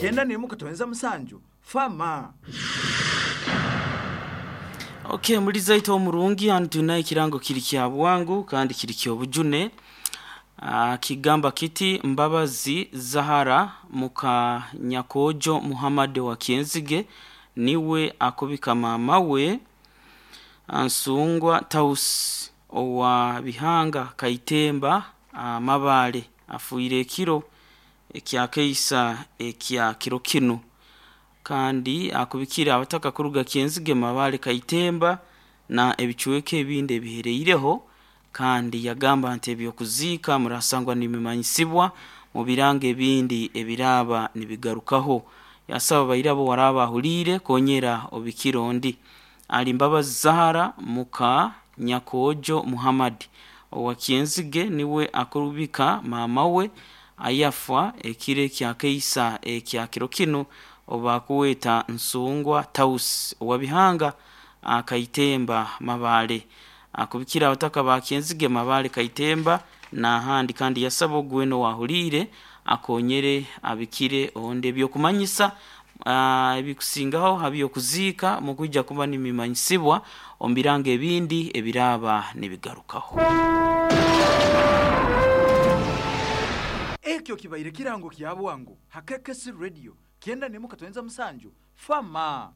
91.7 Fama. Okay, muliza ito omurungi hanu tulina ekirango kiri kya bwangu kandi kiri ky'obujune. Kigamba kiti Mbabazi Zahara muka Nyakojo Muhammad wa Kyenzige niwe akubika mama we Nsungwa Taus owa Bihanga Kaitemba Mabale afuire ekiro ekyakeisa ekya kiro kinu kandi akubikira abataka kuruga Kyenzige Mabale Kaitemba na ebicweka ebindi ebihereireho kandi yagamba nti ebyokuziika murasangwa nibimanyisibwa mu birango ebindi ebiraaba nibigarukaho. Yasaba bairabo waraba ahuliire konyera obikiro ondi ali Mbabazi Zahara muka Nyakojo Muhammad owa Kyenzige niwe akurubika mama we ayafa ekiro ekyakeisa ekya kiro kinu obakuweta Nsungwa Taus owa Bihanga Kaitemba Mabale akubikira abataka ba Kyenzige Mabale Kaitemba n'ahandi kandi yasaba ogweno wahuliire akonyere abikire onde ebyokumanyisa ebikusingaho habyokuziika mukwija kuba nimimanyisibwa omu birango ebindi ebiraaba nibigarukaho. Ekyo kibaire kirango kya bwangu ha KKC Radio 91.7 Fama.